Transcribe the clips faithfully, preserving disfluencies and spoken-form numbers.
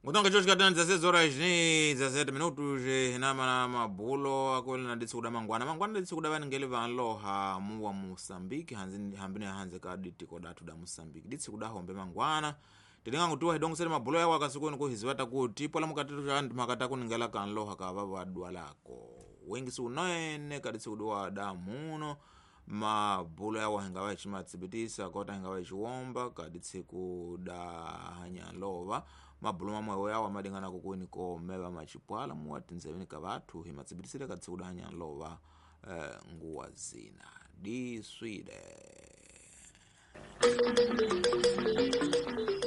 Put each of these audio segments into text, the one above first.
Ngutonga cho chikatana dezesseis horas ni dezessete minutos hinama na mabulo akweli na ditsi kuda mangwana mangwana ditsi kuda vaningeli vanloha muwa Moçambique hanzi hambine hanze ka ditiko datu da Moçambique ditsi kuda hombe mangwana tilinga ngutuwa hidongo mabulo yawo akasukuni kuhiziwata kuti pola mukatitu cha makata kuningela kanloha ka vava dwalako wengi sunene kaditsi kuduwa damuno mabulo yawo hingawa chimatsibitisa kota hingawa chiwomba kaditsi kuda hanyalova mabulo mamwe yawo amadingana kukwini ko meva machipwala muwatinzeveni ka vathu himatsibitisile kaditsi kuda hanyalova eh, nguwa zina diswide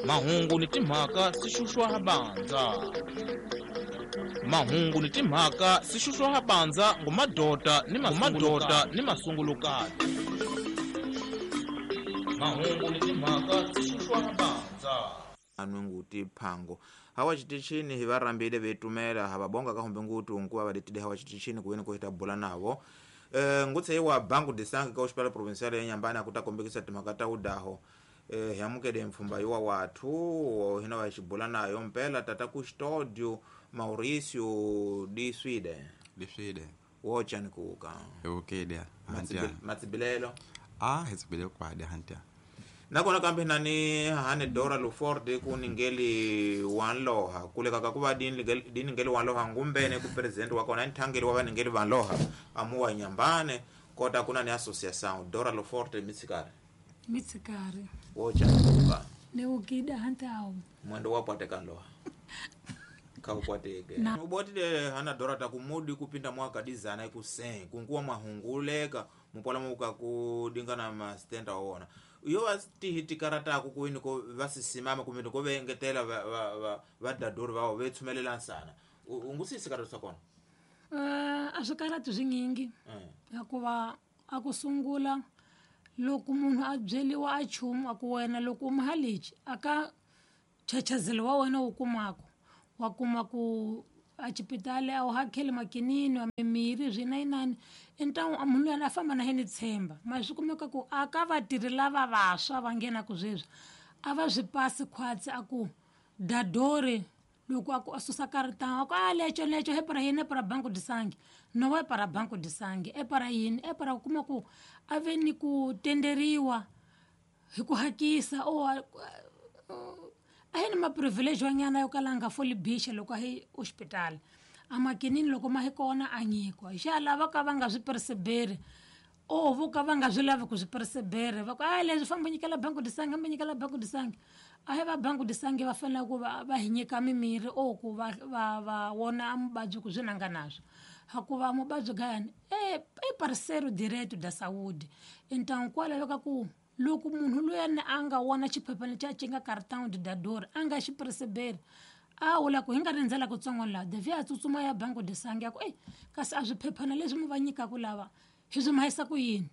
mahungu ni timhaka sixuxwa habanza mahungu ni timhaka sixuxwa habanza ngumadota ni mamadota ni masungulukati mahungu ni timhaka sixuxwa habanza anwenguti phango hawa chitichini hivarambile vetumela havabonga kahombe nguti unkuva vadetile hawa chitichini kuweni kuhita bula navo e, ngutse iwa banku de sangue ka hospital provincial ya Nyambani akutakombekisa timhaka ta udaho e, hiamukele mfumba iwa wathu hina vachibula nayo mpela tata Custódio Mauricio di Swede di Swede wochani kuuka eukede hantia matsibilelo ah hetsibile kwade hantia nakona kambe nani hane Dora Luforde kuningeli wanloha kuleka kakuva diningeli wanloha ngumbene ku president wakona nthangeli wa vaningeli vanloha amuwa Nyambane kota kuna ni associação Dora Luforde mitsikari mitsikari wocha kuka neukida hantao mwendo wapwate kanloha kaupwateke ubotile hana Dora takumudi kupinda mwaka dizana ikusen kunkuwa mwahunguleka mupola muka kudingana mastenda waona iyo vasitihitikarataku kuwini ko vasisimama kumini ko vengetela vadadori vawo vetsumelela nsana ungusisikaratu sakona uh, a swikaratu swinyingi hikuva a ku sungula loko munhu a byeliwa a chumu a ku wena loko u muhalichi aka chachazelo wa wena wu kumako wa kuma ku a xipitali a wu hakeli makinini wa mimirhi swinayinani entangu munhu luyani a famba na yena tshemba ma swi kumeka ku a ka vatirhi lava vantshwa va nghenaku sweswi a va swi pasi khwatsi a ku dadori loko a ku a susa karitanga a ku a leco leco he para yini e para banco de sangue no e para banco de sangue e para yini e para ku kuma ku a ve ni ku tenderiwa hi ku hakisa o a hi ni maprivilege wa nyana yo kala nga foli bixa loko a hi hospital a makinini loko ma hi kona a nyikiwa hi xa lava ka va nga swi perseberi o vo ka va nga swi lavi ku swi perseberi va ku a leswi famba nyikela banco de sangue hamba nyikela banco de sangue a hi va banco de sangue va fanele ku va va hi nyika mimirhi o ku va va va wona a muvabyi ku swi nanga naswo hakuva muvabyi gayani e i parceiro direto da saúde então kwa laveka ku loko munhu luyani a nga wona xiphephana xa xi nga cartão de dador a nga xi perceberi a wula ku hi nga rindzela kutsongo laha devi a tsutsuma ya banco de sangue ya ku ei kasi a swiphephana leswi mi va nyikaku lava hi swi mahisa ku yini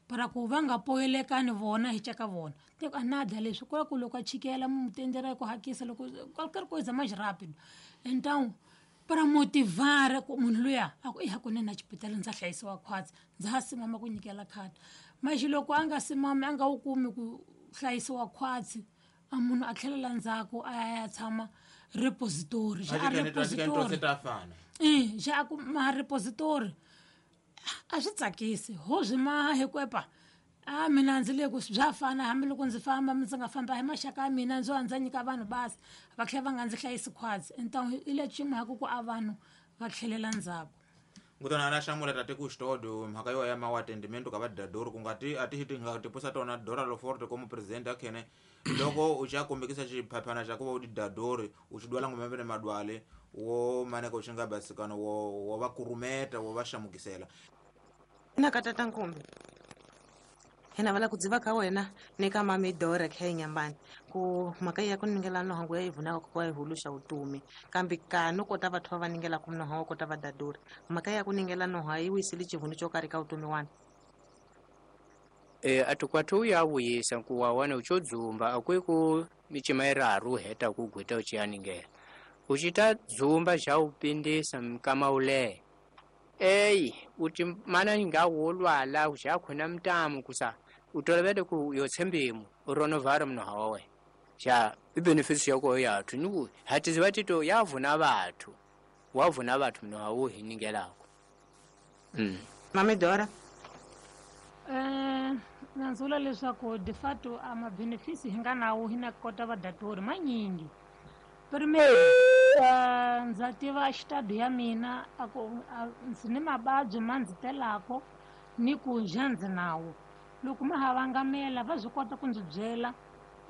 para ku va nga poyelekani vona hi ceka vona te a nada leswi ku ku loko a chikela mu tendera ku hakisa loko qualquer coisa mais rápido então para motivar ku munhu luya a ku i hakunene a xipitali ndza hlayisiwa khwatsi ndza ha simama ku nyikela khadi maxi loko a nga simami a nga wu kumi ku hlayisiwa khwatsi a munhu a tlhelela ndzhaku a ya ya tshama repository xa a repository e xa a ku ma repository a swi tsakisi ho swi maha hi ku epa a mina ndzi le ku bya fana hambiloko ndzi famba ndzi nga famba hi maxaka ya mina ndzo ndza nyika vanhu basi va tlhela va nga ndzi hlayisi khwatsi então i le ximhaka ku a vanhu va tlhelela ndzhaku ngutona ana hlamula tate Custódio mhaka yo ya mawatendimento ka vadadori ku nga ti a ti ti nga tipusa tona Dora Loforte como presidente akhene loko u xa kombekisa xiphaphana xa ku va u didadori u xi dwala ngombe madwale wo maneka u xi nga basikano wo wo va kurumeta wo va xamukisela na ka tata Nkumbi hina vala ku dziva ka wena ni ka mami Dora kha Nyambani ku mhaka ya ku ningela nohangu ya ivunaka ku wa ihuluxa utumi kambe ka no kota vathu va ningela ku nohangu kota va dadori mhaka ya ku ningela noha yi wisile xivunu xo karhi ka utumi wana e atukwatu ya vuyisa ku wa wana ucho dzumba akwi ku michima iraru heta ku gwita uchiyaningela uchita dzumba xa upindisa mkama ule eyi uti mana nga wolwala uxa khona mtamu kusa utolovele ku yotshembimu uronovhara mnoha wawe Ja ibenefits yako yathu niku hatiziva tito yavuna vathu wavuna vathu mno hawu hiningelako. Mm. Mami Dora. Eh nanzula leswaku de fato a mabenefits hi nga nawo hi na kota va datori manyingi. Primeiro, uh, ndza tiva xitado ya mina a ku ndzi ni mavabyi ma ndzi telako ni ku ja ndzi nawo. Loko ma ha vangamela va swi kota ku ndzi byela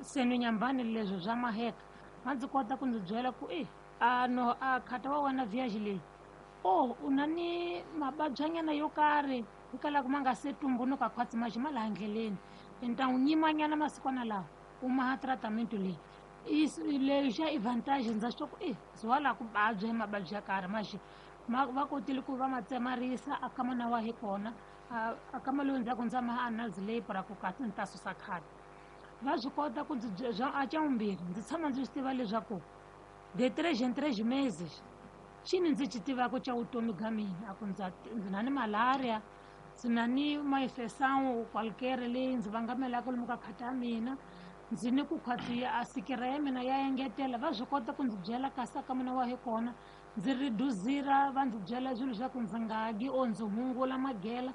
seno nyambani leswi swa maheka va ndzi kota ku ndzi byela ku e a no a khata wa wena viage leyi o u na ni mavabyanyana yo karhi hikwalaho ma nga se tumbunuka khwatsi maxi ma laha ndleleni ni ta n'wi nyimanyana masikwana lawa u maha tratament leyi leyi xa advantage ndza swi ku e ndzi wa laha ku vabya hi mavabyi ya karhi maxi ma va kotile ku va ma tsemarisa a kama na wa hi kona a kama lowu ndzhaku ndza maha analysis leyi para ku kasi ndzi ta susa khadi va swi kota ku ndzi a xa vumbirhi ndzi tshama ndzi swi tiva leswaku de três em três meses xini ndzi xi tivaka xa vutomi bya mina a ku ndza ndzi na ni malaria ndzi na ni maifesawu qualquer leyi ndzi vangamelaka lomu ka khata ya mina ndzi ni ku khwatsi a sikira ya mina ya engetela va swi kota ku ndzi byela kasi ka mina wa hi kona ndzi reduzira va ndzi byela swilo swa ku ndzi nga dyi or ndzi hungula magela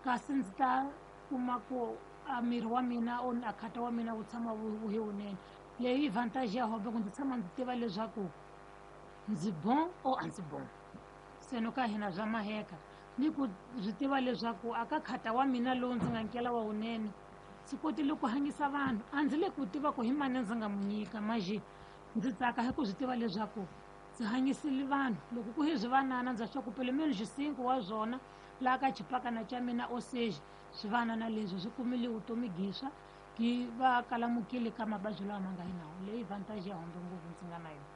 kasi ndzi ta kuma ku a miri wa mina or a khata wa mina wu tshama wu hi wunene leyi advantage ya hobe ku ndzi tshama ndzi tiva leswaku ndzi bon or a ndzi bon se no ka hina bya maheka ni ku swi tiva leswaku aka khata wa mina lowu ndzi nga nkela wa wunene ndzi kotile ku hanyisa vanhu a ndzi le ku tiva ku hi mani ndzi nga mu nyika maje ndzi tsaka hi ku swi tiva leswaku ndzi hanyisile vanhu loko ku hi swivanana ndza swa ku pelo menos cinco wa swona laha ka xipakana xa mina oseja swivanana leswi swi kumile vutomi giswa ki va kalamukile ka mavabyi lawa ma nga hi nawo leyi vantage ya hombe ngopfu ndzi nga na yona.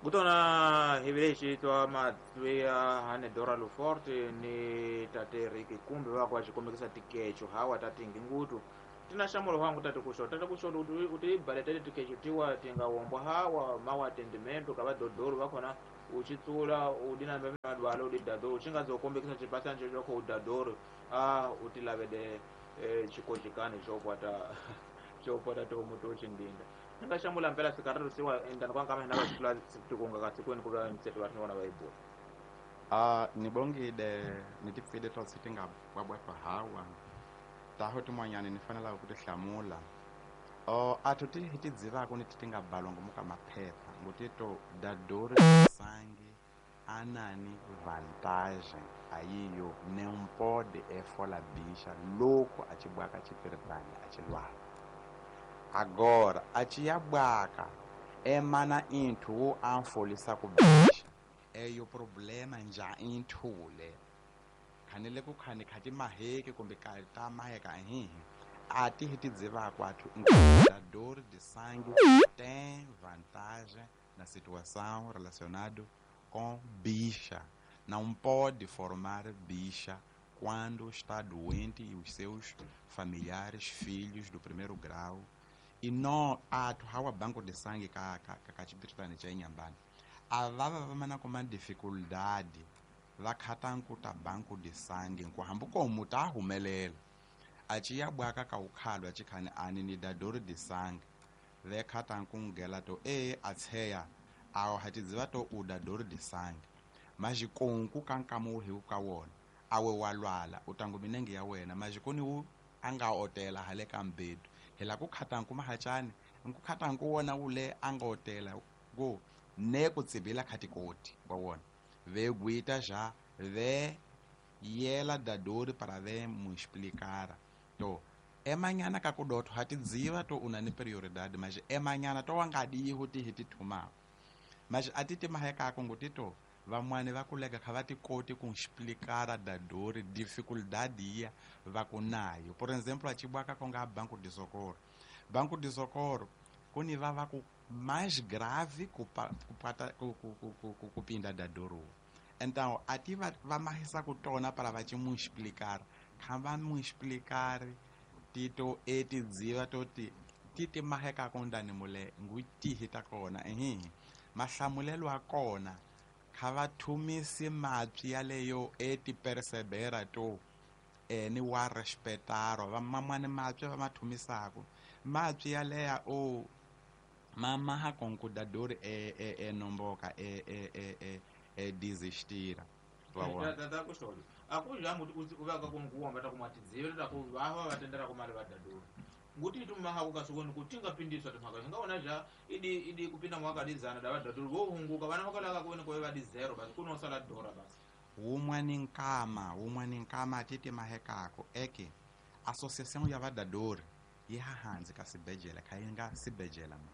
Kutona hi twa matwi hane Dora Luforte ni tate Ricky kumbe va kwa xikomekisa tikecho hawa tatingi ngutu tina xamulo wangu tate kuxo tate kuxo uti baletele tikecho tiwa tinga wombwa hawa mawa atendimento ka vadodoro vakhona uchitsula udina mbeme madwalo udidadoro uchinga zokombekisa chipasa ncho choko udadoro ah utilavede eh, chikojikani chokwata chokwata tomu tochindinda nga xamula mpela sikaratu siwa endani kwa nkama hina vaxitula tikunga kasikweni kuva mseto va rin'wana va ibula. Ah nibongile nitipfile twa siti nga bwabwatwa hawa taho tin'wanyani ni fanelaka ku ti hlamula o athu ti hi ti dzivaka ni ti ti nga balwa ngomu ka maphepha ngutito dadori sangi anani vantagem ayiyo não pode efola bicha louco achibwaka chipiritani achilwala. Agora achiyabwaka emana inthu wo amfolisa ku bicha eyo problema nja inthule khanele ku khani khati maheke kumbe ka ta maheka hihi ati hi tidzivaka athu dador de sangue tem vantagem na situação relacionado com bicha. Não pode formar bicha quando está doente e os seus familiares, filhos do primeiro grau. E não athu hawa banco de sangue ka ka ka chipitani cha Inhambane avava vamana kuma dificuldade va khata nkuta banco de sangue nkuhambu komu ta humelela achiyabwaka ka ukhalwa achikhani ani ni dador de sangue ve khata nkungela to e atsheya awo hatidziva to u dador de sangue majikonku kankamu hi ka wona awe walwala utangu minenge ya wena majikoni wu anga otela hale ka mbedu hela ku khata nku mahachani nku khata nku wona ule anga otela go ne ku tsibila khatikoti wa wona ve guita já ve yela dadori para ve mu explicar to emanyana ka kudotho hatidziva to una ni prioridade mas emanyana to wangadi huti hiti thuma mas atiti maheka ko ngutito vamwani va kulega kha va tikoti ku explicar dadori dificuldade ya va kunayo. Por exemplo achibwaka konga banco de socorro banco de socorro kuni va va ku mais grave kupata kupinda dadoro. Então ati va va mahisa ku tona para va mu explicar kha va mu explicar tito etidziva toti titi maheka kondani mule ngutihi ta kona ehe mahlamulelo a kona kha va thumisi mapyi yaleyo eti persebera to eni wa respetaro va mamwani mapyi va mathumisako Mapyi yaleya o mamaha com dador e e e nomboka e e e e e desistira. Tata kusholi. Akuja muti uvaka kunguwa mbata kumatidzivira takuvava vatendera kumari vadadori. Nguti tumaha kukasukoni kutinga pindiswa tumhaka ngaona ja idi idi kupinda mwakadizana da vadadori vohunguka vana vakalaka kuone kove vadi zero basi kunosala dora basi. Umwani nkama, umwani nkama titi mahekako eke associação ya vadadori yehahanzi kasibhedlela khainga sibhedlela ma.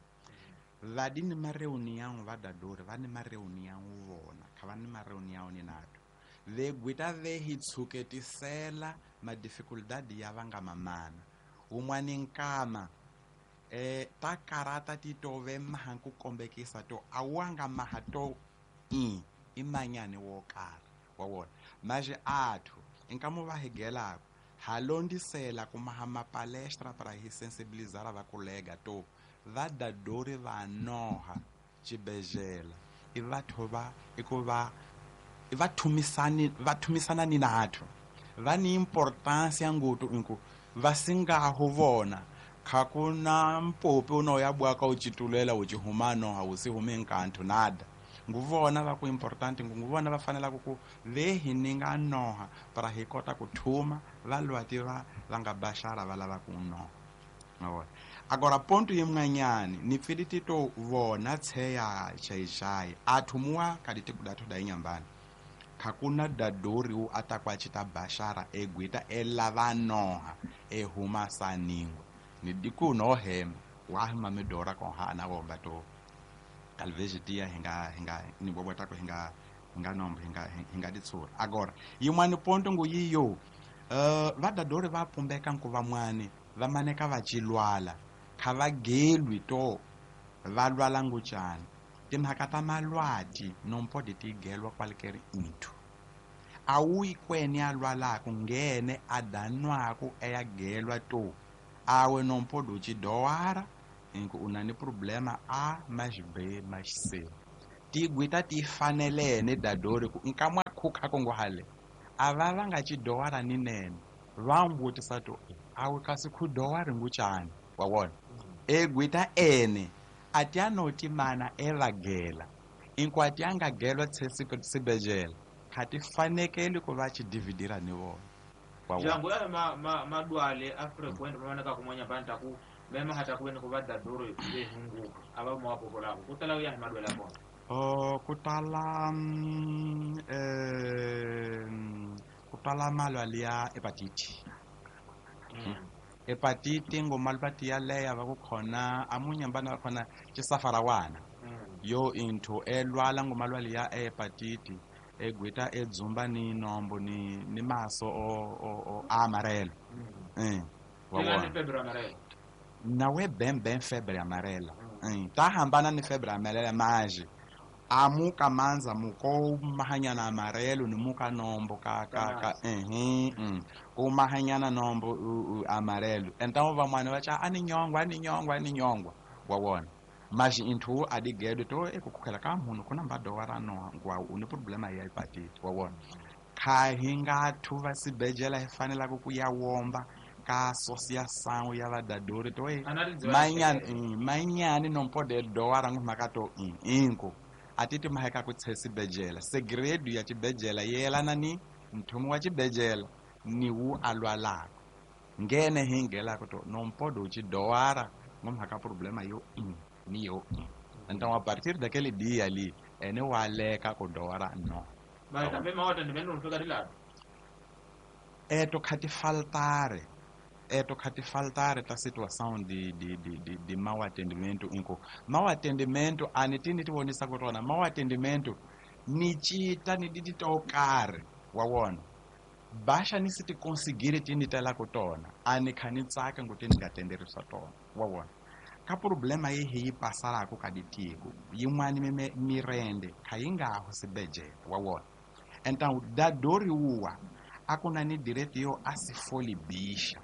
Vadi ni mareunião vadadori vani mareunião vona kha vani mareunião ni nato. Vegwita vehitshuketisela madificuldade ya vanga mamana. Umwani nkama eh takarata titove mahanku kombekisa to awanga mahato i imanyane wokara wawona maje athu nkamo vahegelako halondisela kumaha mapalestra para hisensibilizar vakolega to vadadori vanoha chibhedlela i vathu va ikuva vathumisani vathumisana ni nathu vani importancia ngutu inku vasingaho vona khakuna mpopi unoya bwaka uchitulela uchihumano hausihume nkanthu nada nguvona va ku important nguvona va fanela ku vehi ninga noha para hi kota ku thuma va lwati va va nga bashara va lava ku noha mavona. Agora ponto yimnganyani ni pfiliti to vona tsheya chaichai athumuwa kaditi kudathu da inyambani khakuna dadori u atakwa chita bashara egwita elava noha ehuma saningwa ni diku no hema wa mamedora ko ha na bomba to talvez dia hinga hinga ni bobota ko hinga hinga nombo hinga hinga ditsura. Agora yimwani ponto nguyiyo uh, vadadori va pumbeka nkuva mwani va maneka va chilwala kha va gelwi to va lwala nguchani timhaka ta malwati nompodi ti gelwa qualquer into awuyi kweni a lwalako ngene a danwaku eya gelwa to awe nompodi u chidowara inku unani problema A mais B mais C tigwita ti fanelene dadori ku nkamwa khukha kongo hale ava va nga chidowara ni nene va mbutisa to awe kasi khudowari nguchani wa wona egwita ene atianoti mana evagela inku atianga gelwa tsesibejela khati fanekeli ku va chidividira ni vona wa wona jangu ya ma ma madwale a frequent mamaneka kumwanya banta ku mema hata kuene ku vadadori vehunguka ava mwapokolako kutala uya madwale akona oh kutala mm, eh kutala malwale ya hepatite mm. Hepatite ngomalwati ya leya va ku khona amunyambana va khona chisafarawana mm. Yo into elwala ngomalwale ya hepatite egwita edzumba ni nombo ni ni maso o o, o amarelo mm. eh wa febre amarela nawe bem bem febre amarela mm. Ta hambana ni febre amarela maje amuka manza muko mahanyana amarelo ni muka nombo ka ka ka eh mm ko mahanyana nombo u, u, amarelo então vamwana va cha ani nyongwa ani nyongwa ani nyongwa wa wona mas into adigedo to ekukhela ka munhu kuna mbadowara no ngwa une problema ya hepatite wa wona kha hinga thuva sibejela hi fanela ku ya womba ka associação ya vadadori to e manyani manyani não pode doar ngumaka to inko atiti maheka ku tsesibejela segredo ya chibejela yelana ni mthumu wa chibejela ni wu alwalako ngene hingela ku to não pode uchidoara ngumaka problema yo ni yo então a partir daquele dia ali ene waleka ku doara no ba tambe mawata ndimendo mfika dilado eto khati faltare eto khati faltare ta situação de de de de, de mau atendimento inko mau atendimento anitini tivonisa ku tona mau atendimento ni chita ni didi tokare wa wona basha ni siti conseguir tini tela ku tona ani khani tsaka nguti ni nga tenderisa tona wa wona ka problema yi hi pasarako ka ditiko yin'wani mirende kha yi nga ho sibejela wa wona então dadori uwa akuna ni direito yo a se folibisha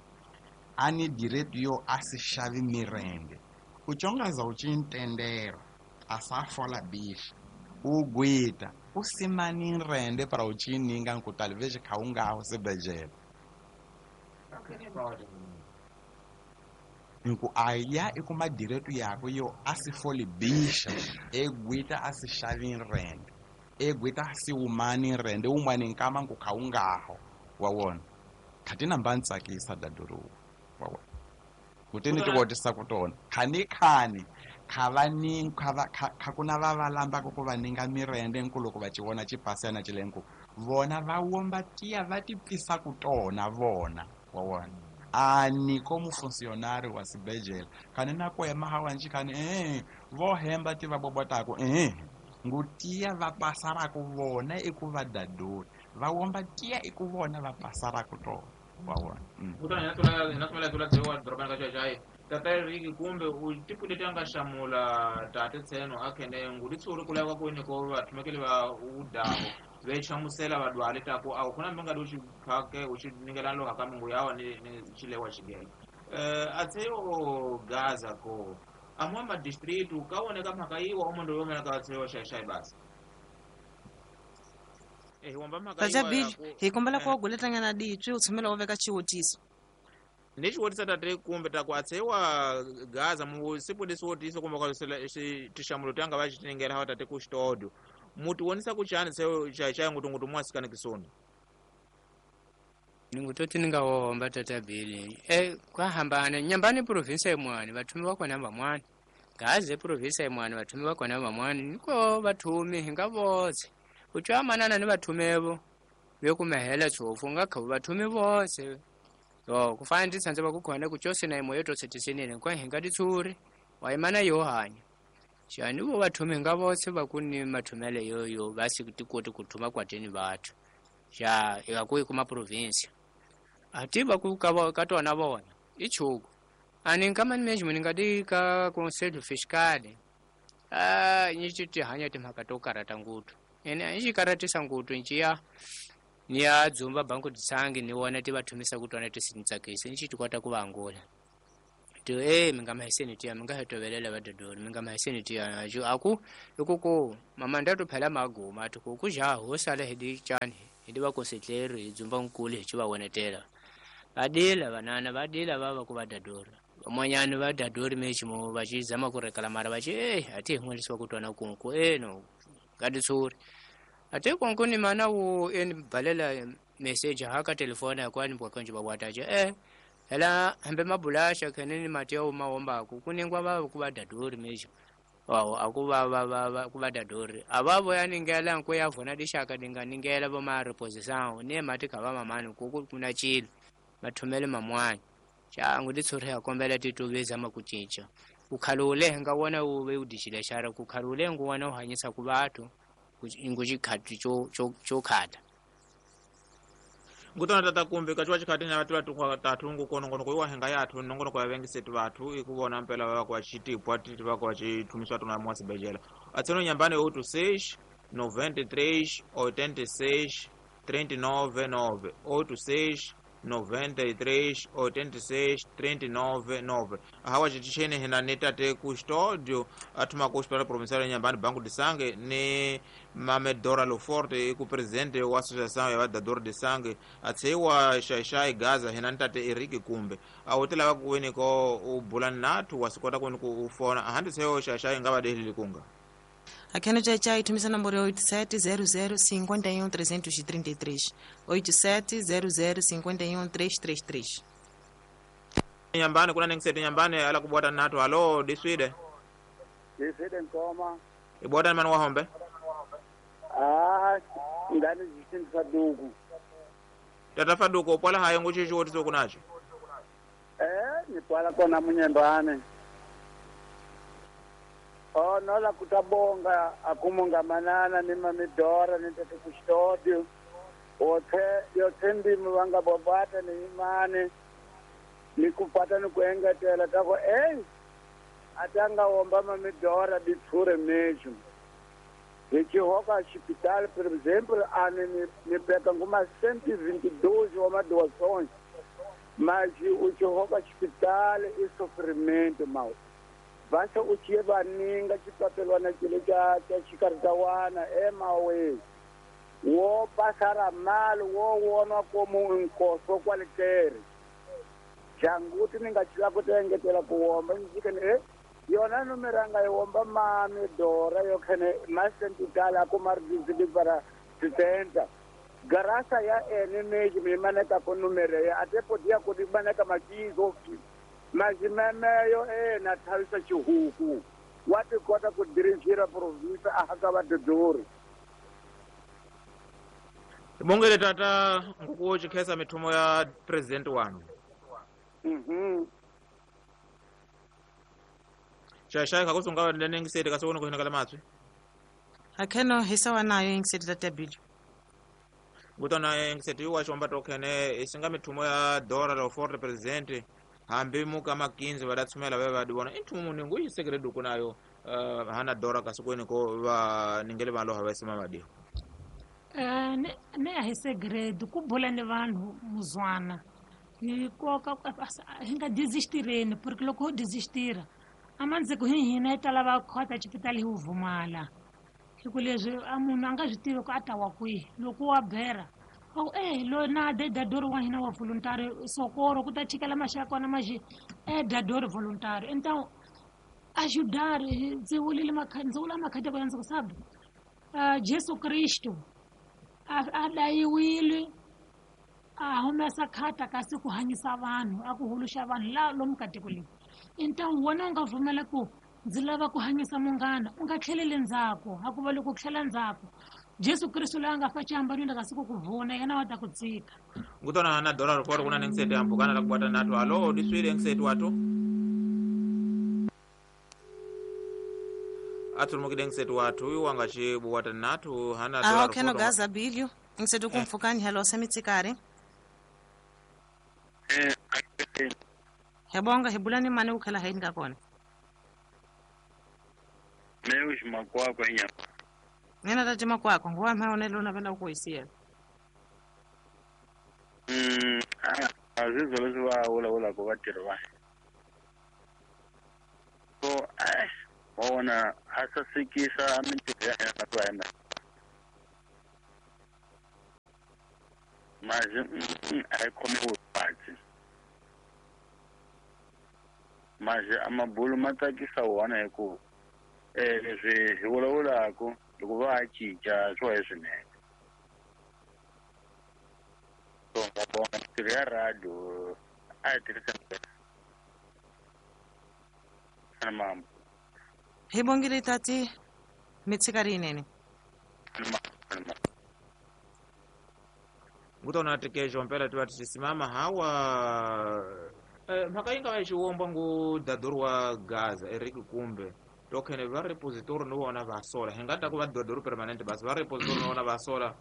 ani direito yo a se xavi mirende uchongaza uchintendera asafola bicha ugwita usimani nrende para uchininga nku talvez kha ungaho sibejela. Nku aya ikuma direto yako yo asifoli bisha egwita asishavin rende egwita asiwumani rende umwani nkama nkukhawungaho wawona khatina mbantsakisa daduru wawona kutini tiwotisa kutona khani khani khavaning khava khakuna vavalamba ku vaninga mirende nkuloko va chiwona chipasana chilenku vona va womba tiya va tipfisa kutona vona wawona ani como funcionário wa sibejela khani na kwema hawanji khani eh vo hemba ti va bobotako eh ngutiya va pasarako vona iku va daduri va womba tiya iku vona va pasarako tona wawona kutona hina tula hina tula tula dorobani ka chachai tata Riki kumbe u tipule tanga shamula tate tseno akhene ngulitsuri kula kwa kwini ko vathumekele va udaho vechamusela vadwale tako awu kuna mbinga do chiphake uchiningela lo hakamungu yawa ni, ni chilewa chigela eh atseyo Gaza ko amwe ma district ukaoneka mhaka iwa omondo yomena ka atseyo shai basi eh wamba mhaka iwa hi kombela ku guletanyana ditwi u tshumela u veka xiwutiso ni xiwutiso tate kumbe ta ku atsewa Gaza mu siku lesiwotiso kumbe ka tixamulo tanga va xitiningela hawa tate ku xitodo muti wonisa kuchani seo chai ngutu ngutu mwasikana kisoni ningutoti ningawomba tata Bili e kwahambana nyambani province imwani vathumi vakona vamwani Gaza province imwani vathumi vakona vamwani niko vathumi hinga votse utswamanana ni vathumevo vekumehela tshofu nga khavu vathumi votse yo kufana nditsanze vakukhona kuchosina imo yotosetisenene kwa hinga titsuri waimana yohanya xani vo vathumi nga votse vakuni mathumele yoyo vasi tikoti kuthuma kwateni vathu xa ikakuyi kuma province ati vaku ka tona vona i chuku ani nka management nga di ka conselho fiscal a ni ti ti hanya timhaka to karata ngutu ene i karatisa ngutu njiya ni ya dzumba banku tsangi ni wona ti vathumisa ku tona tisintsakisi ni ti kota ku vangula to eh minga mahiseni tiya minga hetovelela vadodori minga mahiseni tiya ajo aku ikuko mama ndatu phela maguma ati ku kuja ho sala hidi chani hidi va konsetleri hi dzumba nkulu hi va wonetela vadila vanana vadila vava ku vadadori van'wanyani va dadori mechimo va xi zama ku rekala mara va xi eh ati hi n'welisiwa ku twana kunku eh no kaditsuri ati kunku ni mana wu eni balela message haka telefona yakwani bwakonje babwataje eh hela hambe mabulasha kheneni mati yawo mawombaku kuningwa vava ku vadadori mecho wawo akuva va va va ku vadadori avavo yaningela nku ya vona dixaka dinganingela vo ma reposição ne mati kha va mamani ku ku kuna chilo mathumele mamwani xangu titshuri ya kombela tituveza ma ku cinca ku khalule nga wona wu ve u dixile xara ku khalule ngu wona u hanyisa ku vathu ngu xikhati xo xo xo khata ngutona tata kumbe kachiwa chikhati na vatu vatu tathu ngukono ngono kuiwa henga yathu nongono kwa vengisetu vathu ikuvona mpela vava kwa chitipwa titi vako chithumiswa tuna mwasibejela atseno nyambani oito seis noventa e três oitenta e seis trinta e nove nove oito seis noventa e três oitenta e seis trinta e nove nove hawa chitishene hina ni tate custódio athuma ku hospital provincial ya Nyambani Banco de Sangue ni Mame Dora Loforte iku presidente wa associação ya vadador de sangue atseiwa Xaixai Gaza hina ni tate Eric Kumbe awutela vakuweni ko u bula nathu wasikota kweni ku u fona ahandi seyo Xaixai nga vadehlili kunga Aqui no Tchai thumisa nomboro oito sete zero zero cinquenta e um trezentos e trinta e três. oito sete zero zero cinquenta e um trezentos e trinta e três. Nyambani kuna ningisete nyambani ala kubwata natu halo diswide. Diswide nkoma. Ibwata mani wahombe? Ah, ngani zisindi faduku. Tata faduku upwala hayo nguchichi wotiso kunacho? Eh, nipwala kona munyembane. Oh, nola kutabonga akumunga manana ni mamidora ni tete kustodio. Othe yothe ndimi vanga bobata ni imani. Nikupata nikuengetela tako eh atanga womba mamidora ditsure mejo. Nichihoka hospital por exemplo, ane ni peka nguma cento e vinte e dois uma doações. Mas o chihoka hospital e sofrimento mau. Basta o que vaninga chipapelwana chile cha cha chikaritawana emawe wo pasara mal wo wona como um nkoso qualquer Janguti ni nga chila ku engetela ku womba ni jikene eh yona numero anga yi womba mami Dora yo khene masentitala ku mardizi para sesenta garasa ya ene meji mi maneka ko numero ya atepo dia ko di maneka makizo majimemeyo e na thavisa xihuku wa ti kota ku dirigir province a haka va dodori. Bongele tata nguku chikhesa mithumo ya president wanu. Mhm. Shashai kakusunga nengisete kasokona kuhina kala matswi. Akheno hisawa nayo ingisete tata Billy. Ngutona ingisete wa chomba tokhene isinga mithumo ya Dora lo for president hambi muka makinzi vadatsumela vave vadiwona inthumo muningu isekere duku nayo uh, hana Dora kasokweni ko va ningele vanhu lava sima madiho. Eh ne ne a hi segredo ku bula ni vanhu muzwana hi koka hi nga desistireni porque loko ho desistira amandziko hi hina hi ta lava khota xipitali hi vumala hi ku leswi a munhu a nga swi tivi ku a ta wa kwihi loko wa bera wa ku eh lo na de dadori wa hina wa voluntary sokoro ku ta chikela maxaka kona maxi eh dadori voluntary então ajudar ndzi vulile ndzi vula makhadi ya ndzi ku sabe Jesu Kristo a dayiwile a humesa khata kasi ku hanyisa vanhu a ku huluxa vanhu la lomu ka tiko leri. Então wena u nga pfumela ku ndzi lava ku hanyisa munghana u nga tlheleli ndzhaku a ku va loko tlhela ndzhaku Jesu Kristo loyi a nga fa xihambanweni kasi ku ku vona yena wa ta ku tsika. Ngutona na Dora riporo kuna nengisete ambukana la kubata nato alo diswile engisete watu atulumukile engisete watu uyu wanga chibuwata natu hana Dora. Aho kheno gaza Billy ngisete kumfukani hello semitsikari. Eh Hebonga hebulani mane ukhela haini ka kona. Meus makwakwa nya. Nena tati makwakwa nguwa maone lona venda kuisiya. Mm azizo leswi va vulavulaka vatirhi va. So eh wa vona a sasekisa mintirho ya hina va hina. Mazi a yi khomiwi kahle. Mazi a mabulu ma tsakisa wona hi ku eh leswi hi vulavulaka loko va cinca swo hi swinene. So nga vona mintirho ya radio a yi tirhisa mambo. Hi bongile tati mitsikari yinene. Ngutona tikejo mpela tiva tichisimama hawa eh, mhaka yi nga va yi xiwomba ngu dadori wa Gaza Eric Kumbe tokhene va repository no vona va sola hi nga ta ku va dadori permanent basi va repository no vona va sola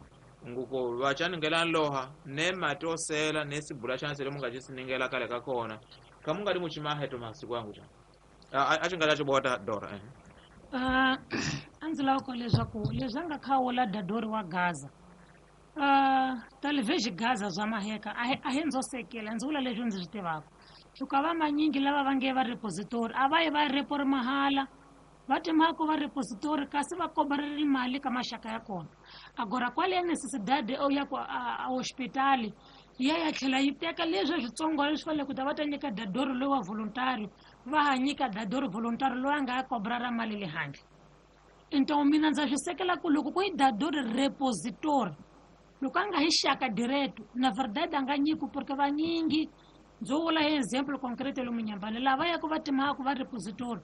nguko va chaningela loha ne mati osela ne sibula chana sele munga chisiningela kale ka kona ka munga di muchimaheto masiku yangu cha a xi nga ta xibota Dora eh uh, a ndzi lava ku leswaku leswi a nga khawula dadori wa Gaza Uh, talvez Gaza zwa maheka a hi ndzo sekela ndzi vula leswi ndzi swi tivaka hikuva va manyingi lava va nge va repository a va yi va repori mahala va timhaka va repository kasi va kobareli mali ka maxaka ya kona agora kwale ya necessidade ya ku a hospitali ya ya tlhela yi teka leswi switsongo leswi fanele ku ta va ta nyika dadori loyi wa voluntary va ha nyika dadori voluntary loyi a nga ya kobrara mali le handle. Então mina ndza swi sekela ku loko ku yi dadori repository loko a nga hi xaka direto na verdade a nga nyiki porque vanyingi ndzo vula hi example concrete lomu Nyambani lava yaka va timhaka va repository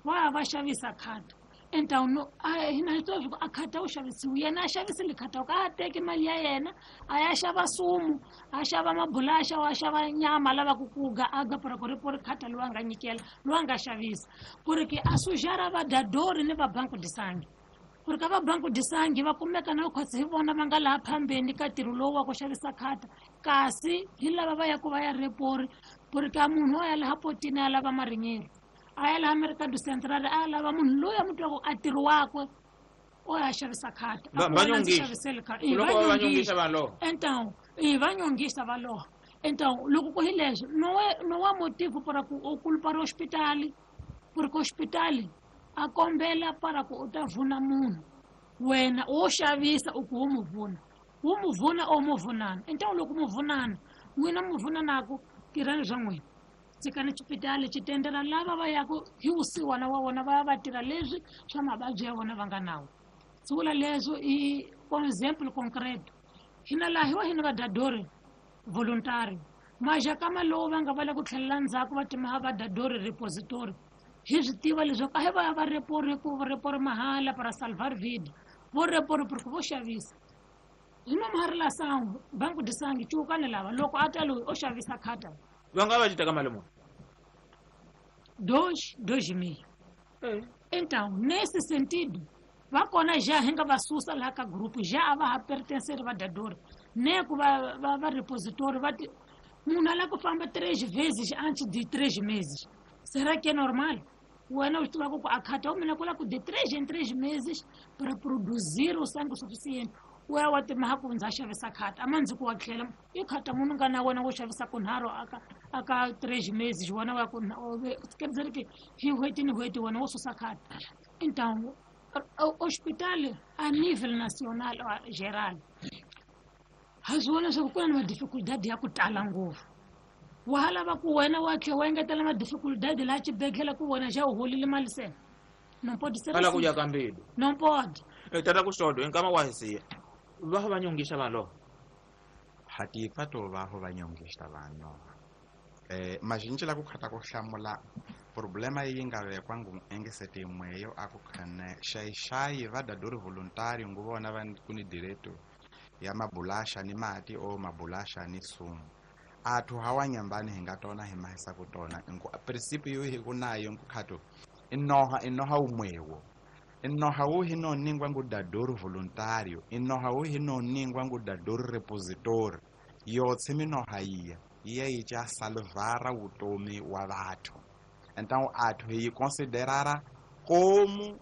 va ya va xavisa khata então no hina hi tiva swa ku a khata wu xavisiwi yena a xavisile khata ka a teki mali ya yena a ya xava sumu a xava mabulaxa a xava nyama a lavaka ku ga a ga pora ku ri pori khata loyi a nga nyikela loyi a nga xavisa ku ri ke a sujara va dadori ni va banku disangi ku ri ka va banku disangi va kumeka na khotsi hi vona va nga laha phambeni ka ntirho lowu wa ku xavisa khata kasi hi lava va yaku va ya repori ku ri ka munhu a ya laha potini a lava marinyelo a ya laha Mercado Central a lava munhu loyi a mu twaka a ntirho wakwe o ya xavisa khata então i va nyongisa va loha então loko ku hi leswi no no wa motivo para ku u kulpa ri hospitali ku ri ka hospitali a kombela para ku u ta vuna munhu wena wo xavisa u ku wo mu vuna wo mu vuna o mu vunana então loko mu vunana n'wina mu vunanaku tirhani swa n'wina. Tshikani xipitali xi tendera lava va yaku hi vusiwana wa vona va ya va tirha leswi swa mavabyi ya vona va nga nawo. Swi vula leswo i example concreto. Hina laha hi wa hina vadadori voluntary. Majakama lowu va nga va le ku tlhelela ndzhaku va timaha vadadori repository. Hi swi tiva leswaku a hi va ya va repori ku repori mahala para salvar vida. Vo repori porque vo xavisa. Hi nomu ha ri la sangu, banku di sangi cuukani lava loko a ta loyi o xavisa khata. Va nga va ci teka mali muni? Dois, dois e meio. Então, nesse sentido, va kona já hi nga va susa laha ka grupo, já a va ha pertencer vadadori. Ne ku va va va repositori va ti munhu a lava ku famba três vezes antes de três meses. Será que é normal? Wena u swi tiva ku a khata wa mina ku lava ku de três em três meses para produzir o sangue suficiente. U ya wa timaha ku ndza xavisa khata a ma ndzi ku wa tlhela i khata munhu nga na wena wo xavisa kunharhu aka aka três meses wena wa ku quer dizer que hi n'hweti ni n'hweti wena wo susa khata. Então hospital a nível nacional geral ha swi vona leswaku ku na ni madificuldade ya ku tala ngopfu. Wa ha lava ku wena wa tlhela wa engetela madificuldade laha xibedhlele ku wena xa u holile mali se. Não pode ser Ala assim. ku ya ka mbilu. Não pode. Tata Custódio, hi nkama wa hi siya. Va va nyongisa vanhu lava. Hatipfa to va ho va nyongisa vanhu. Eh mazinji la ku khata ku hlamula problema yi nga vekwa ngu engesete imweyo a ku khane xayi va dadori voluntary ngu vona va ku ni direto ya mabulasha ni mati o mabulasha ni sumu. Athu hawa nyambani hi nga tona hi mahisa ku tona ngu principe yo hi ku nayo ngu khato inoha inoha umwewo. Inoha wu hi no ningwa ngu dadori voluntario, inoha wu hi no ningwa ngu dadori repositori. Yotse minoha iya iya yi cha salvara vutomi wa vathu. Então athu hi yi considerara como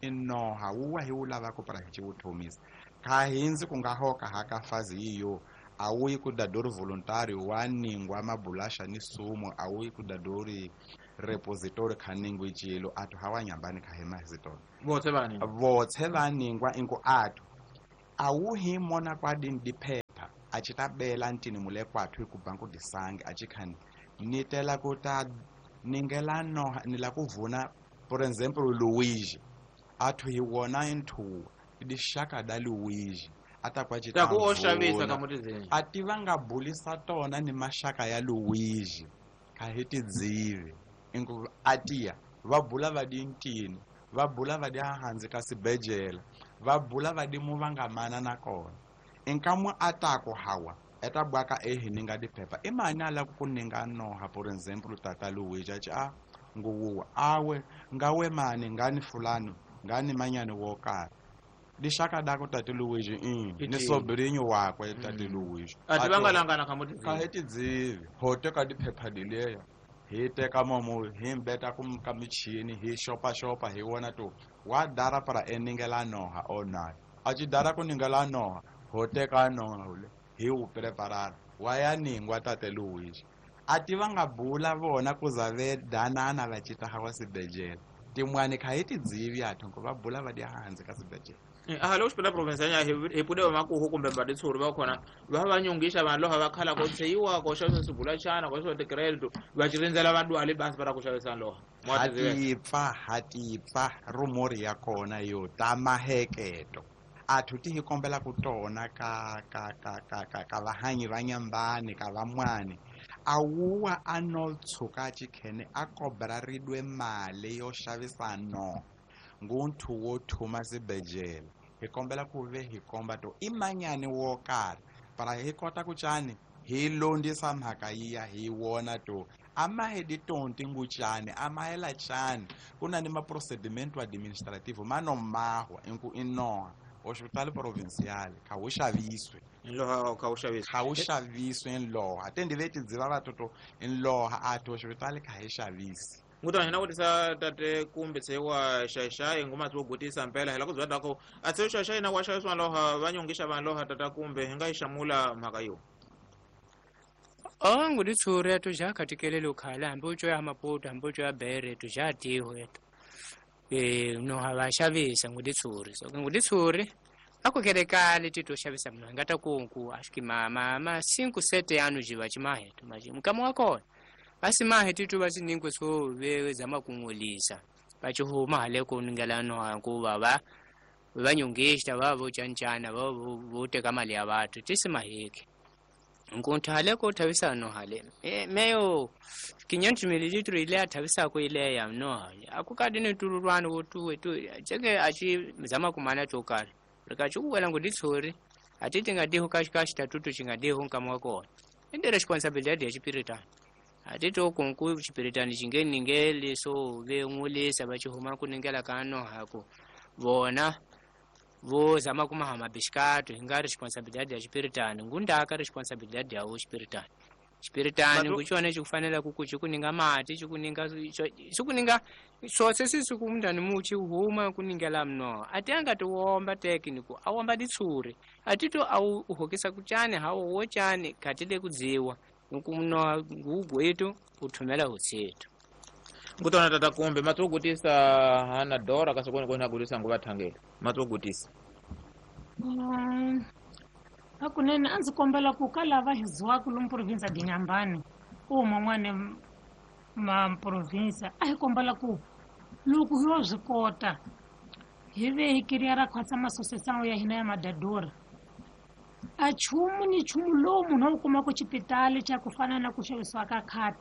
inoha wu hi wu lavaka para hi vutomisa. Kha hindzi ku nga hoka haka fazi iyo a wu yi ku dadori voluntario wa ningwa mabulasha ni sumu, a wu yi ku dadori repository kha ningwi cilo athu hawa nyambani kha hima hizitona. Votse va ningwa. Votse va ningwa ingu athu a wu hi mona kwa dini diphepha a ci ta bela ntini mule kwathu hi ku banku disangi a ci khani ni tela ku ta ningela noha ni la ku vuna por exemple Luigi athu hi wona inthuwa dixaka da Luigi a ta kwa ci Ta ta ku o xavisa vuna. ka mutizini. A ti va nga bulisa tona ni maxaka ya Luigi kha hi tidzivi ingu atiya va bula va di ntini va bula va di hansi ka sibejela va bula va di mu va nga mana na kona inkamu atako hawa eta bwaka ehi ninga diphepha i mani a lava ku ninga noha por exemple tata Luigi a ci a nguwuwa awe ngawe mani ngani fulani ngani manyani wo karhi lixaka dako tate Luigi mm, I ni tivi. sobrinho wakwe tate Luigi A ti va nga langana kha mutizini. ka hi tidzivi ho teka diphepha dileya hi teka momo hi mbeta ku ka michini hi xopaxopa hi vona to wa dara para eningela noha o nayo a ci dara ku ningela noha ho teka noha ule hi wu preparara wa ya ningwa tate Luigi a ti va nga bula vona ku za ve danana va cita hawa sibejela tin'wani kha hi tidzivi athu ku va bula va di hansi ka sibejela. A halo xipela province ya hi hi pude va makuhu kumbe va ditshuri va khona va va nyongisa vanhu lava va khala ko tsheyiwa ko xavisa swibulachana ko xavisa ti-credit va ci rindzela va dwale basi va ra ku xavisa loha. Hatipfa hatipfa rumori ya kona yo ta maheketo athu ti hi kombela ku tona ka ka ka ka ka ka vahanyi va nyambani ka van'wani a wuwa a no tshuka chikhene a kobra ridwe mali yo xavisa no ngunthu wo thuma sibejela hi kombela ku ve hi komba to i manyani wo karhi para hi kota ku cani hi londisa mhaka yiya hi wona to a ma hi ditonti ngucani a ma hela cani ku na ni maprocedimento administrativo ma no mahwa inku i noha hospital provincial kha wu xaviswe Nloha kha wu xaviswe. Kha wu xaviswe nloha te ndi ve tidziva vatoto nloha athu hospital kha hi xavisi. Ngutana hina vutisa tate kumbe tshewa xaxai ngoma tso gutisa mpela hela ku bya dako a tshewa xaxai na wa xaviswa loha va nyongisa vanhu loha tata kumbe hi nga yi xamula mhaka yo. O nguditshure etu ja khatikelele ukhala hambi utsho ya Maputo hambi utsho ya Beira etu ja tiho etu eh no ha va xavisa nguditshure so nguditshure akukelekale tito xavisa munhu angata kunku acho que ma ma ma cinco sete anos de vachimahetu mas mukama wa kona Basi mahe titu basi ningwe so ve zama kungolisa. Bachuhuma hale kuningela no kuva va vanyongista va vo chanchana va vo teka mali ya bathu tisimaheke. Nkunthu hale ko thavisa no hale. E meyo quinhentos mililitros ile athavisa ko ile ya no hale. Akukadi ne tururwana wo tuwe tu cheke achi zama kumana chokala. Rikachuwela nguditsori atiti ngadiho kashi tatutu chingadiho nkamwa kona. Ende responsabilidade ya chipiritani. Atiti okunku chipiritani chingeni ngeli so ve ngulisa bachihuma kuningela kano hako. Vona vo zama kumahama bishkatu hinga responsabilidade ya chipiritani ngundaka responsabilidade ya chipiritani. Chipiritani nguchone chikufanela kukuchi kuninga mati chikuninga chikuninga sose sisi kumndani muchi huma kuningela mno ati angatiwomba tekniku awomba ditsuri atito au uhokisa kuchane hawo wochane katile kudziwa nkumno ngugwetu uthumela hutsetu ngutona tata kumbe matugutisa hana dora kasokoni kona gutisa nguvathangela matugutisa um hakunene a ndzi kombela ku ka lava hi ziwaka lomu province ya Inhambane ku man'wana ma province a hi kombela ku loko hi yo swi kota hi ve hi kiriya ra khwatsa masosesano ya hina ya madadora a nchumu ni nchumu lowu munhu a wu kumaka xipitali xa ku fana na ku xavisiwa ka khata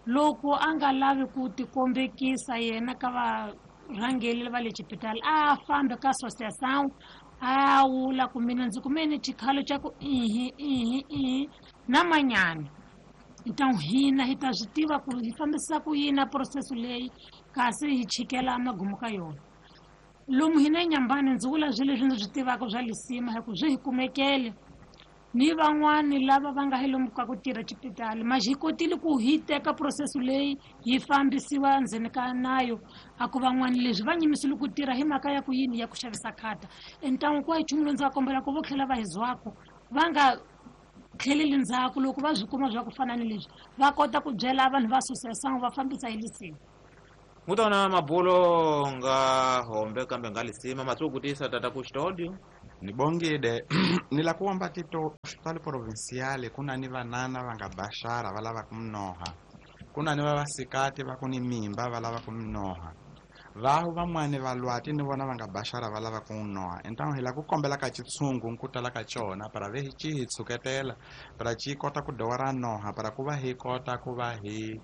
loko a nga lavi ku tikombekisa yena ka varhangeli va le xipitali a fambe ka association a wula ku mina ndzi kumene xikhalo xa ku ihi ihi ihi na manyana então hina hi ta swi tiva ku hi fambisa ku yini process leyi kasi hi chikela magumu ka yona lomu hina eNyambani ndzi vula swilo leswi ndzi swi tivaka swa lisima hi ku swi hi kumekele ni van'wani lava va nga hi lomu ka ku tirha xipitali ma hi kotile ku hi teka process leyi yi fambisiwa ndzeni ka nayo a ku van'wani leswi va nyimisile ku tirha hi mhaka ya ku yini ya ku xavisa khata entangu ku hi nchumu lowu ndzi va kombela ku vo tlhela va hi zwako va nga tlheleli ndzhaku loko va swi kuma swa ku fana ni leswi va kota ku byela vanhu va association va fambisa hi lisima ngutona mabulo nga hombe kambe nga lisima matsugutisa tata ku studio nibongide nila kuomba tito hospitali provinciale kuna ni vanana vanga bashara valava kumnoha kuna ni vavasikati va kuni mimba valava kumnoha vahu vamwane valwati ni vona vanga bashara valava kumnoha então hila kukombela ka chitsungu nkutala ka chona para ve hi chi hi tsuketela para chi kota ku dora noha para kuva hi kota kuva hi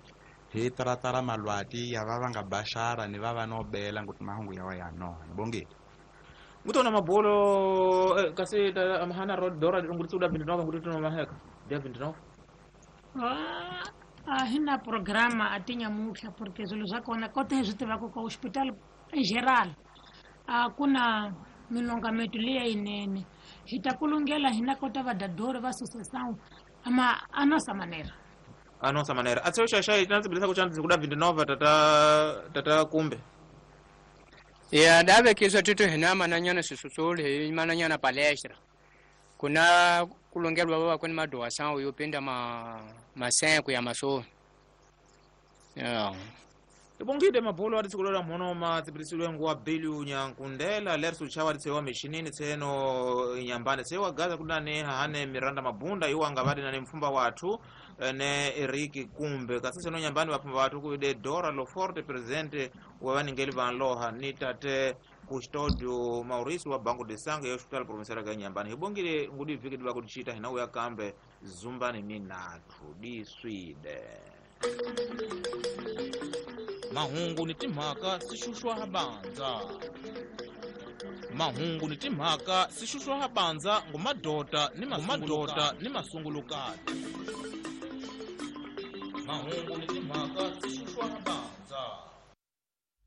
hi taratara malwati ya va vanga bashara ni va va nobela nguti mahungu yawa ya noha nibongide ngutona mabulo eh, kasi hana road dora ngutsi uda vinte e nove ngutsi no maheka dia vinte e nove ah a hina programa atinya mutlha porque swilo swa kona kota hi swi tivaka ka hospital in geral a ku na milongameto leya yinene hi ta kulungela hina kota vadadori va association ama a nossa maneira a nossa maneira atse xaxa na tsibilisa ku xana kuda vinte e nove tata tata kumbe ya dave kiswa tutu hina mananyana sisutsuli hi mananyana palestra kuna kulongelwa baba kwani madoação yopinda ma masenko ya maso ya ibongide mabulo ati sikulola mhono ma tsibilisilwe nguwa bilu nyankundela lersu chawa tsewa mishinini tseno Inhambane tsewa gaza kudane hane Miranda Mabunda iwa ngavadi na mfumba wathu ne Eriki Kumbe kasi tseno Inhambane vafumba wathu kuide Dora Loforte presidente wa vaningeli vanloha ni tate Custodio Mauricio wa Banco de Sangue ya Hospital Provincial ga Inhambane hibongile ngudi viki diva kuchita hina uya kambe zumbani minathu diswide mahungu ni timhaka swi xuxwa ha bandza mahungu ni timhaka swi xuxwa ha bandza ngumadota ni mamadota ni masungulukati mahungu ni timhaka swi xuxwa ha bandza.